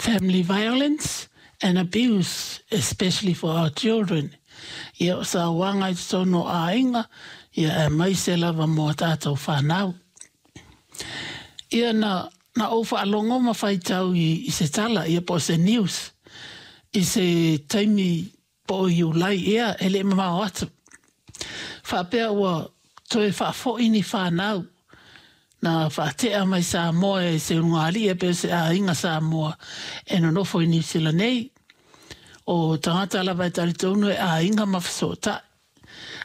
Family violence and abuse, especially for our children. Ia, o sauaga i totonu o aiga, ia aemaise lava mo a tātou whānau. Ia na ou faalogo ma faitau i se tala, ia po o se news, i se taimi po o Iulai ea e le i mamao atu. Faapea ua toe faafoi ni whānau na faatea mai Samoa e se ulugalii pe o se aiga Samoa e nonofo i Niu Sila nei. O tagata lava e talitonu e aiga ma fesootai.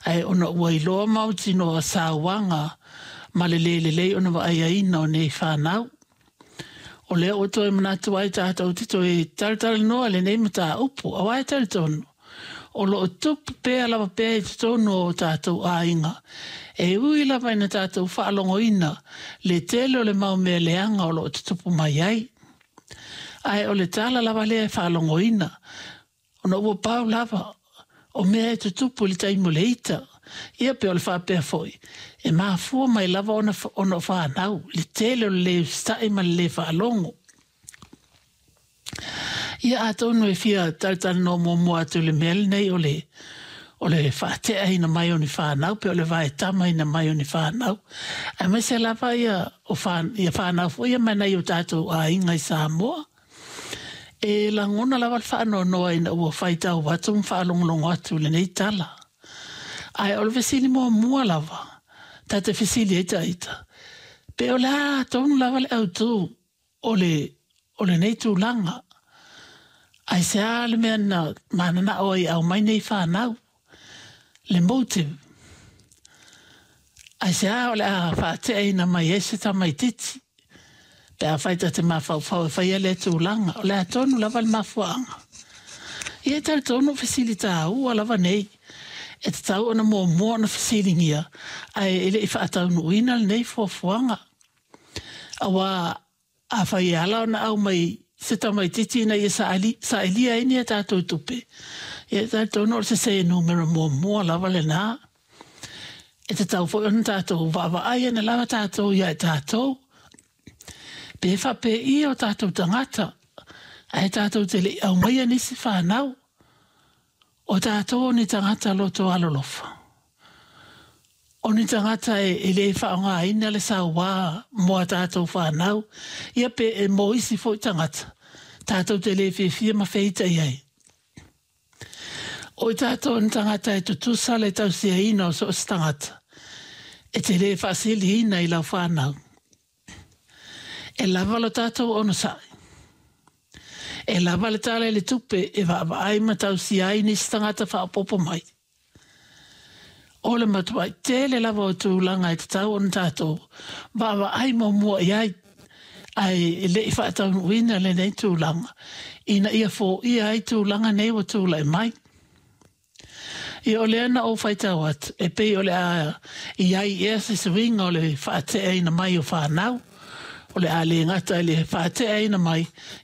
Ae ona ua iloa mautinoa sauaga ma le lē lelei ona vaaia o nei whānau. O lea ua toe manatu ai tātou te toe talatalanoa lenei mataupu, auā e talitonu. O lo o tupu pea lava pea i totonu o tātou aiga. E ui lava ina tātou faalogoina le tele o le mau mea leaga o lo o tutupu mai ai. Ae o le tala lava lea e faalogoina, ona ua pau lava o mea e tutupu i le taimi o le ita. Ia pe o le faapea foi, e mafua mai lava ona o whānau, le tele o le lē usitai ma le lē faalogo. Ia atonu e fia talatalanoa muamua atu i le mea lenei o le faateaina mai o ni whānau, pe o le vaetamaina mai o ni whānau. Aemaise lava ia, o whā, ia whānau foi ia mai nai o tātou aiga i Samoa. E lagona lava le faanoanoa ina ua faitau atu ma faalogologo atu lenei tala. Ae o le fesili muamua lava, ta te fesili ai taita. Pe o le a tonu lava le autū o lenei tulaga. Aisea le mea na mananao ai e aumai nei whānau. Le motive. Aisea o le a faateaina mai ai se tamaititi. Pe afai ta te mafaufau e faia lea tulaga. O le a tonu lava le mafuaaga. Ia e talitonu fesili taua lava nei. E tatau ona muamua ona fesiligia ae e le i faataunuuina lenei fuafuaga. Auā afai e ala ona aumai se tamaititi ina ia sailia ai ni a tātou tupe. Ia e talitonu o le sesē numera muamua lava lenā. E tatau foi ona tātou vaavaai ane lava tātou ia i tātou. Pe faapei o tātou tagata, ae tātou te le i aumaia nisi whānau. O tātou o ni tagata loto alolofa. O ni tagata e lē faaaogaina le sauā mo a tātou whānau, ia pe e mo isi foi tagata. Tātou te lē fiafia ma feitai ai. O i tātou ni tagata e tutusa le tausiaina o so o se tagata. E te lē faasiliina i lau whānau. E lava lo tātou onosai. E lava le tala i le tupe e vaavaai ma tausia ai nisi tagata faaopoopo mai. O le matuai tele lava o tulaga e tatau ona tātou vaavaai muamua i ai ae e le i faataunuuina lenei tulaga ina ia foia ai tulaga nei ua tulai mai. Ia o lea na ou faitau atu, e pei o le a i ai ea se suiga o le faateaina mai o whānau, o le a lē gata i le faateaina mai,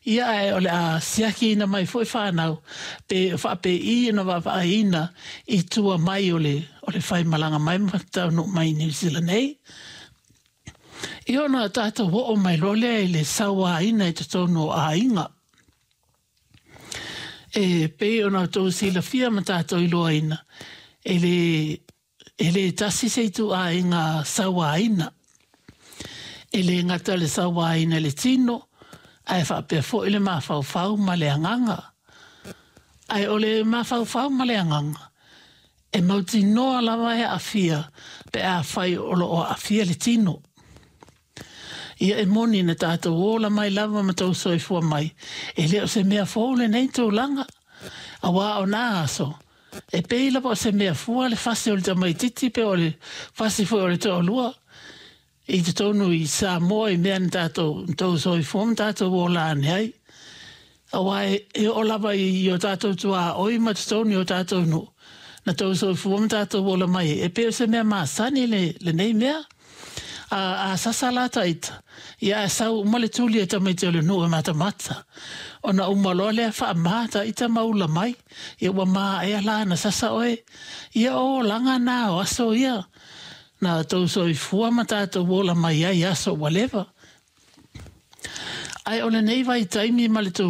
ia ae o le a siakiina mai foi whānau, pe faapei ona vaavaaiina i tua mai o le faimalaga mai ma taunuu mai i Niu Sila nei. Ia ona tātou oo mai loa lea i le sauaina i totonu o aiga. E pei ona outou silafia ma tātou iloaina, e lē tasi se ituaiga sauaina. E lē gata le sauaina i le tino, ae faapea foi le mafaufau ma le agaga. Ae o le mafaufau ma le agaga, e mautinoa lava e aafia pe afai o lo o aafia le tino. Ia e moni na tātou ola mai lava ma tou soifua mai. E le o se mea fou lenei tulaga. Auā o nā aso. E pei lava o se mea fua le fasi o le tamaititi pe o le fasi foi o le toalua. I totonu i Samoa i mea na tātou tou soifua ma tātou ola ane ai. Auā e oo lava i o tātou tuaoi ma totonu i o tātou nuu. Na tou soifua ma tātou ola mai. E pei o se mea masani lenei mea. A sasa la taita. Ia e sau uma le tuli e tamaiti o le nuu e matamata. Ona uma loa lea faamā taita ma ula mai. Ia ua maea la na sasa oe. Ia o olaga na o aso ia. Na tou soifua ma tātou ola mai ai aso ua leva. Ae o lenei vaitaimi ma le